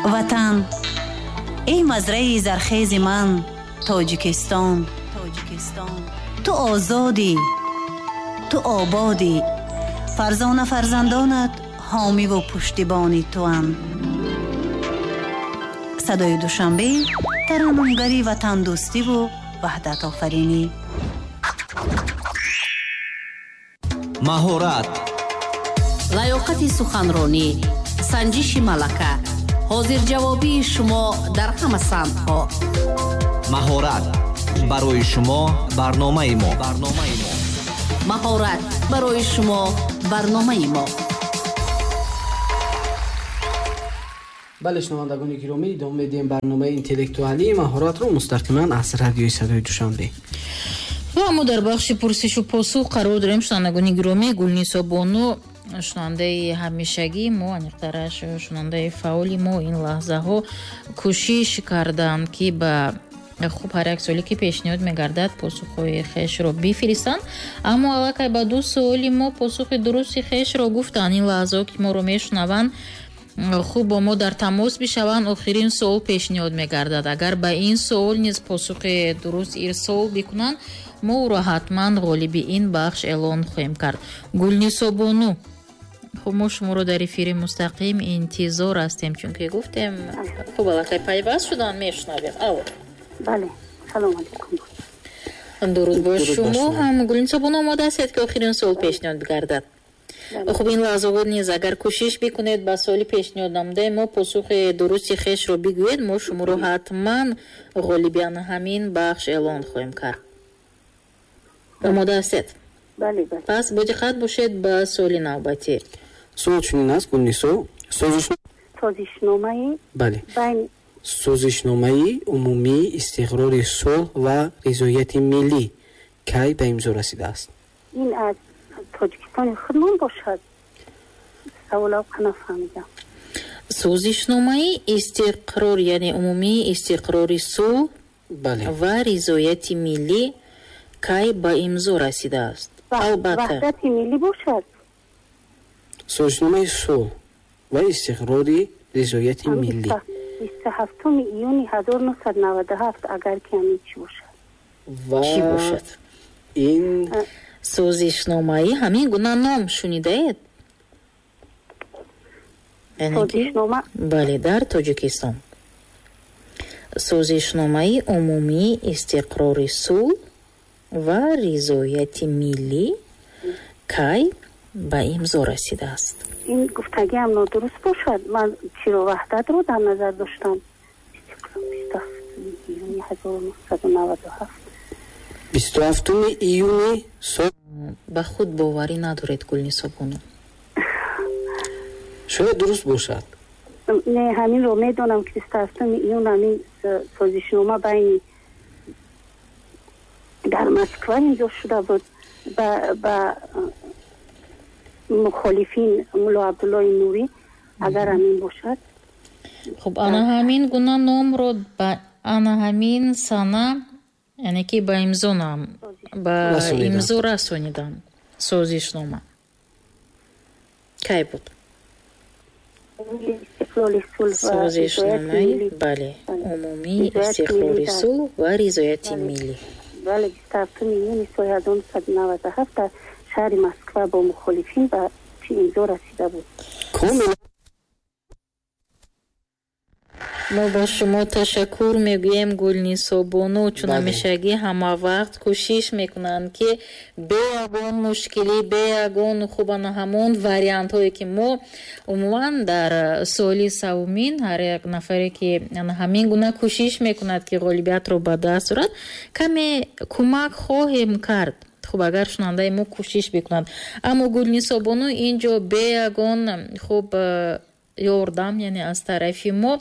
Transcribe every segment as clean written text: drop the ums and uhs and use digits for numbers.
Ватан, эй мазраи зархези ман, Тоҷикистон, ту озодӣ, ту ободӣ, фарзона фарзандонат ҳомиву пуштибони туанд. Садои Душанбе, тараннумгари ватандӯстиву ваҳдатофаринӣ. Маҳорат, лаёқати суханронӣ, санҷиши малака, ҳозирҷавобии шумо дар ҳама самтҳо. Маҳорат барои шумо барномаи мо. Маҳорат барои шумо барномаи мо. Бале, шунавандагони гиромӣ, идома медиҳем барномаи интеллектуалии маҳоратро мустақиман аз радиои Садои Душанбе. Ва мо дар бахши пурсишу посух қарор дорем. Шунавандагони гиромӣ, Гулнисо бону, шунавандаи ҳамешагии мо, аниқтараш шунавандаи фаъоли мо, ин лаҳзаҳо кӯшиш карданд, ки ба хуб ҳар як суоле ки пешниҳод мегардад посухҳои хешро бифиристанд, аммо аллакай ба ду суоли мо посухи дурусти хешро гуфтанд. Ин лаҳзаҳо ки моро мешунаванд, хуб бо мо дар тамос бишаванд. Охирин суол пешниҳод мегардад. Агар ба ин суол низ посухи дуруст ирсол бикунанд, мо ӯро ҳатман ғолиби ин бахш эълон хоҳем кард. Гулнисо бону, хуб мо шуморо дар эфири мустақим интизор ҳастем, чунки гуфтем хуб аллакай пайваст шудан, мешунавем. Алло. Бале, салом алейкум. Дуруд ба шумо ҳам. Гулнисо бону, омода ҳастед ки охирин суол пешниҳод бигардад? Хуб, ин лаҳзаҳо низ агар кӯшиш бикунед ба суоли пешниҳод намудаи мо посухи дурусти хешро бигӯед, мо шуморо ҳатман ғолиби ҳамин бахш эълон хоҳем кард. Омода ҳастед? Бале, бале. Пас бо диққат бошед ба суоли навбатӣ. Суол чунин аст, Гулнисо. Созишномаи бале. Созишномаи умумии истиқрори сулҳ ва ризояти миллӣ кай ба имзо расидааст? Ин аз Тоҷикистони худмон бошад? Саволав нафаҳмидам. Созишномаи истиқрор, яъне умумии истиқрори сулҳ ва ризояти миллӣ кай ба имзо расидааст? Албатта. Ваҳдати миллӣ бошад? Созишномаи сулҳ ва истиқрори ризояти миллӣ. 27 июни 1997, агар ки ҳамин чӣ бошад. Чӣ бошад? Ин созишномаи ҳамин гуна ном шунидаед? Созишнома? Бале, дар Тоҷикистон. Созишномаи умумии истиқрори сулҳ ва ризояти миллӣ кай ба имзо расидааст? Ин гуфтагиам нодуруст бошад. Ман чиро ваҳдатро дар назар доштам. 27 июни 1997. 27 июни сол. Ба худ боварӣ надоред, Гулнисо бону? Шояд дуруст бошад. Не, ҳаминро медонам ки 27 июн ҳамин созишнома байни дар Москва имзо шуда буд ба мухолифин Мулло Абдуллои Нурӣ, агар ҳамин бошад. Хуб, ана ҳамин гуна номро ба ана ҳамин сана, яъне ки ба имзо нам ба имзо расонидам созишнома кай буд? Созишномаи бале, умумии истиқрори сулҳ ва ризояти миллӣ. Бале, 27 июни соли 1997 дар шаҳри Москва бо мухолифин ба имзо расида буд. Мо ба шумо ташаккур мегӯем, Гулнисо бону, чун ҳамешагӣ ҳама вақт кӯшиш мекунанд, ки бе ягон мушкилӣ, бе ягон хубана ҳамон вариантҳое ки мо умуман дар суоли савумин ҳар як нафаре ки ҳамин гуна кӯшиш мекунад, ки ғолибиятро ба даст орад, каме кӯмак хоҳем кард. Хуб, агар шунавандаи мо кӯшиш бикунад. Аммо Гулнисо бону ин ҷо бе ягон хуб ёрдам, яъне аз тарафи мо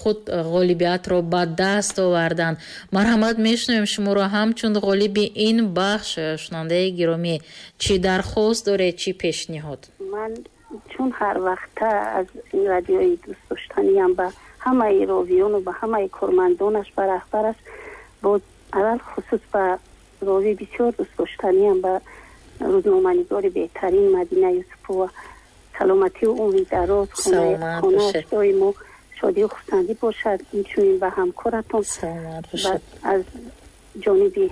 худ ғолибиятро ба даст оварданд. Марҳамат, мешунавем шуморо ҳамчун ғолиби ин бахш. Шунавандаи гиромӣ, чӣ дархост доред, чӣ пешниҳод? Ман чун ҳар вақта аз ин радиои дӯстдоштаниам ба ҳамаи ровиёну ба ҳамаи кормандонаш, ба раҳбараш, боз алалхусус ба рови бисёр дӯстдоштаниам, ба рӯзноманигори беҳтарин Мадина Юсупова саломатию умри дароз, хонааш доимо Шодию хурсандӣ бошад, инчунин ба ҳамкоратон. Саломат бошад. Аз ҷониби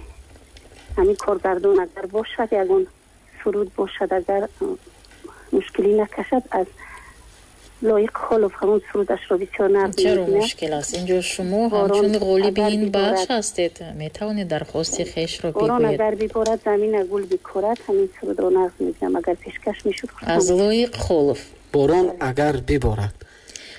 ҳамин коргардон агар бошад, ягон суруд бошад, агар мушкилӣ накашад, аз Лоиқ Холов ҳамон сурудашро бисёр нағз Чаро мебинам. мушкил аст? Инҷо шумо Борон ҳамчун ғолиби агар ин бахш биборад. ҳастед, метавонед дархости хешро Борон бигӯед. агар биборад, замина гул бикорад, ҳамин сурудро нағз мебинам. Агар пешкаш мешуд, Аз хурсанд. Лоиқ Холов. Борон агар биборад.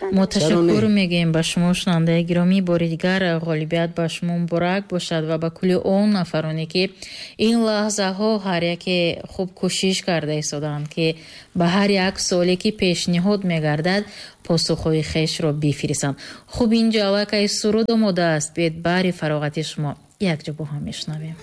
Мо Чаро ташаккур не? мегӯем ба шумо, шунавандаи гиромӣ. Бори дигар ғолибият ба шумо муборак бошад ва ба кулли он нафароне, ки ин лаҳзаҳо ҳар яке хуб кӯшиш карда истодаанд, ки ба ҳар як суоле, ки пешниҳод мегардад, посухҳои хешро бифиристанд. Хуб, инҷо аллакай суруд омода аст. Биед, баҳри фароғати шумо якҷо бо ҳам мешунавем.